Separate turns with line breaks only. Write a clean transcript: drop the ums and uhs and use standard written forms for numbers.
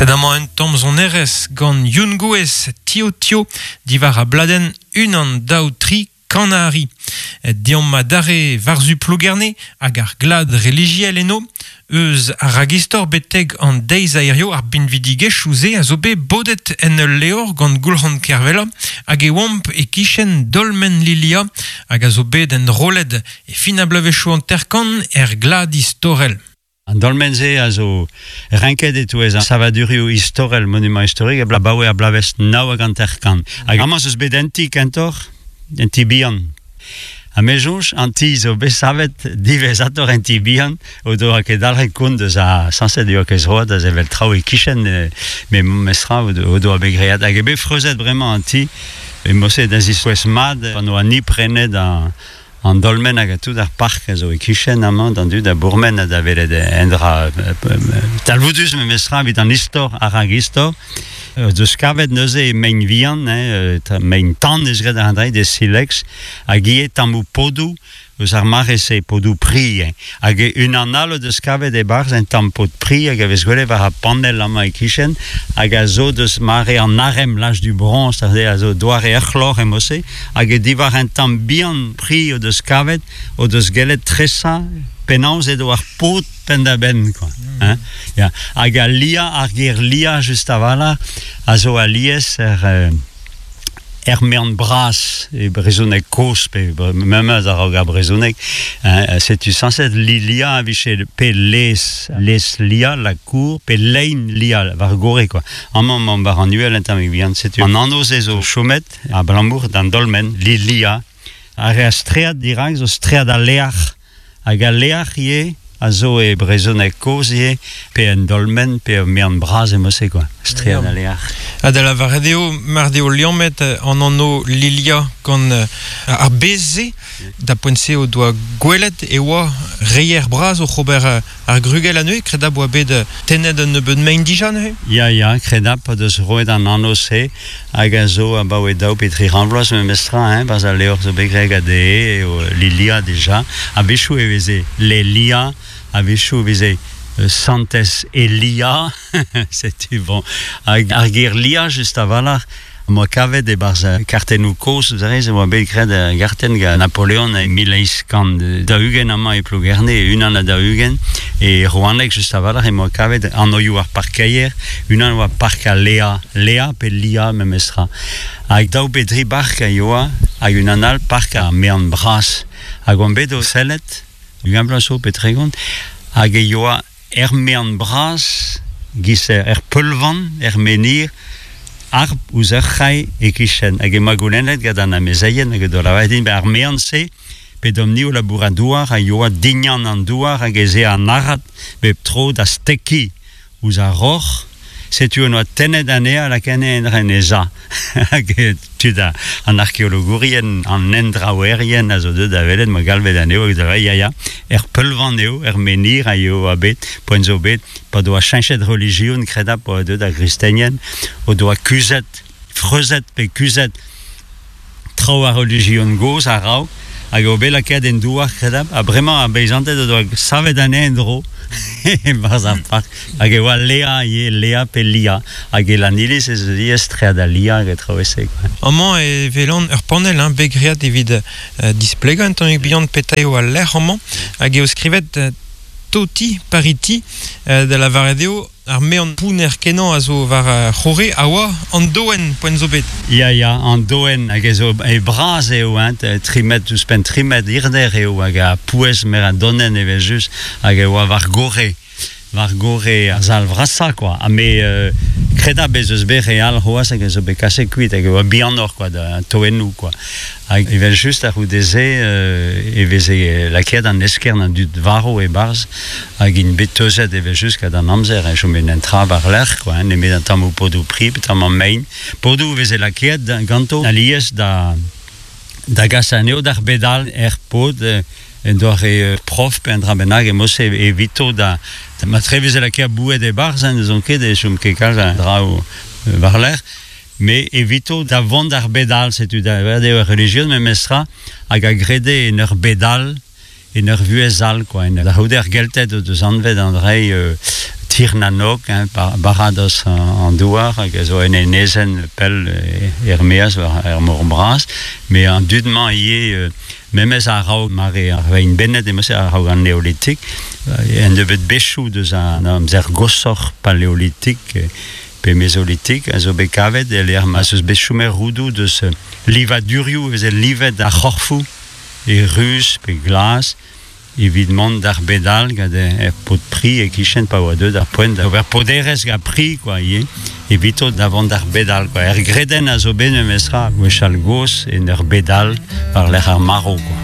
Sed amañ un tamm sonerezh gant Youn Gouez, Tio Tio, diwar ar bladenn Unan, daou, tri, Kanari. Deomp adarre war-zu Plougerne hag ar glad relijiel eno. Eus ar ragistor betek an deiz a hirio ar binvidigezhioù-se a zo bet bodet en ul levr gant Goulc'han Kervella hag e oamp e-kichen Dolmen Lilia hag a zo bet enrollet e fin ar bloavezhioù hanter-kant er glad istorel.
An dolmen-se a zo renket e-touez ar savadurioù istorel, monument historique, abaoe ar bloavezh 59. Hag amañ 'z eus bet un ti kentoc'h, un ti bihan. Ha me soñj, an ti zo bet savet diwezhatoc'h en ti bihan, o doa ket dalc'het kont eus ar sañset e oa ket zroad da sevel traoù e-kichen, met memestra o doa bet graet. Hag eo bet freuzet bremañ an ti, e mod-se da ziskouez mat pan oa ni prenet An dolmen hag tout ar park a zo e-kichen amañ d'an dud a bourmen ha da welet un dra talvoudus memestra evit an istor, ar ragistor. Deus kavet neuze e mein vihan, hein, mein tan eus graet ar dre des silex, hag ivez tammoù podoù eus ar mare-se, podoù pri. Hein. Hag unan all o deus kavet e-barzh un tamm pod pri hag a vez gwelet war ar panell amañ e-kichen, hag a zo deus mare an arem, l'âge du bronze, a zo doare ur c'hloc'h e mod-se. Hag diwar un tamm bihan pri o deus kavet o deus gellet tresañ penaos edo ar paotr penn-da-benn quoi hein ya hag al lia ar ger lia just a-walc'h a zo alies er er mean bras e brezhoneg kozh pe memes a-raok ar brezhoneg hein setu sañset Lilia a vije pe les les lia la cour pe lein lia war gorre quoi amañ emaomp war an uhel un tammig bihan setu an anv-se zo chomet Abalamour d'an dolmen Lilia a reas streat dirak zo streat al leac'h hag al leac'h ivez a zo e brezhoneg kozh ivez pe un dolmen pe ur mean bras emañ-se quoi streat al leac'h.
Ha da lavaret eo mar deo liammet an anv Lilia gant ar bez-se da poent-se o doa gwelet e oa reier bras oc'h ober Ar grugell anezhe, kredabl oa bet tennet un nebeud mein dija neuze?
Ya, ya, kredabl o deus roet an anv-se hag a zo abaoe daou pe tri c'hant vloaz memestra, hein, 'barzh al levr zo bet graet gant dezhe eo Lilia dija. A-wechoù e veze Lelia, a-wechoù e veze Santez Elia, setu bon. Hag ar ger Lia just a-walc'h Am boa kavet e-barzh kartennoù kozh, vous savez, e oa bet graet ur gartenn gant Napoleon e 1840 amañ e Plougerne, unan ha 40, e Rouaneg just a-walc'h em boa kavet anvioù ar parkeier, unan oa Park al Lea, Lea pe Lia memestra. Hag daou pe dri bark a yoa, hag unan all Park ar Mean Bras. Hag oan bet o sellet, 20 vloaz zo pe 30, hag e yoa Er mean bras, giz er peulvan, er menhir, harp ouzh ur c'hae e-kichen. Hag emañ goulennet gant an amezeien hag o doa lavaret din ar mean-se, p'edomp-ni o labourat douar, a yoa dignan an douar hag ez ea an arat bep tro da stekiñ ouzh ar roc'h. Setu en doa tennet anezhañ ha lakaet anezhañ en he za. Hag tud an arkeologourien, an hendraouerien a zo deuet da welet, ma galvet anezho hag da ya ya, er peulvan eo, er menhir a eo oa bet, poent zo bet, pa doa cheñchet relijion, kredabl oa deuet ar gristenien, o doa kuzhet, freuzet pe kuzhet traoù ar relijion gozh a-raok hag eo bet lakaet en douar kredabl ha bremañ ar beizanted o doa savet anezhañ en-dro e-barzh ar park hag e oa Lea ivez Lea pe Lia hag e Lanniliz ez eus ivez streat al Lia hag traoù-se quoi.
Amañ e welan ur panell hein, bet graet evit displegañ un tammig bihan petra eo al lec'h amañ hag eo skrivet Toti Pariti da lavaret eo Ar mean pounner-kenañ a zo war ar c'horre a oa an doenn poent zo bet.
Ya, ya, an doenn hag ez zo e bras eo, hein, tri metr ouzhpenn tri metr hirder eo hag ar pouez mer a donenn evel-just hag e oa war gorre, war gorre ar sal vrasañ quoi. Ha me kredabl ez eus bet re all c'hoazh hag a zo bet kaset kuit hag e oa bihanoc'h quoi, da toennoù quoi. Hag evel-just a-c'houde-se e veze lakaet an eskern an dud varv e-barzh hag int bet teuzet evel-just gant an amzer e chome un tra war-lerc'h quoi, nemet an tammoù podoù pri pe tamm an mein. Podoù e veze lakaet ganto alies da da gas anezho d'ar bed all er pod en doare prof pe un dra bennak e mod-se evito da ma tre veze lakaet boued e-barzh hein, n'ouzon ket e chom ket kalz a draoù war-lerc'h. Me evito da vont d'ar bed all, setu da eo ar relijion memestra hag a grede en ur bed all, en ur vuhez all quoi. En da c'houde ar Gelted o deus anvet an dra Tir na Nog, hein, baradoz an douar, hag a zo en enezenn pell er-maez war er mor bras. Met an dud-mañ ivez, memes a-raok mare ar vein bennet, emañ a-raok an neolitik, en deus bet bezhioù deus an amzer goshoc'h paleolitik pe mezolitik a zo bet kavet e lec'h ma 'z eus bet chomet roudoù deus livadurioù e veze livet ar c'horfoù e ruz pe glas evit mont d'ar bed all gant er pod pri e-kichen pa oa deuet ar poent da ober poderezh gant pri kwa ivez evito da vont d'ar bed all kwa. Er gredenn a zo bet memestra gwechall gozh en ur bed all war-lerc'h ar marv kwa.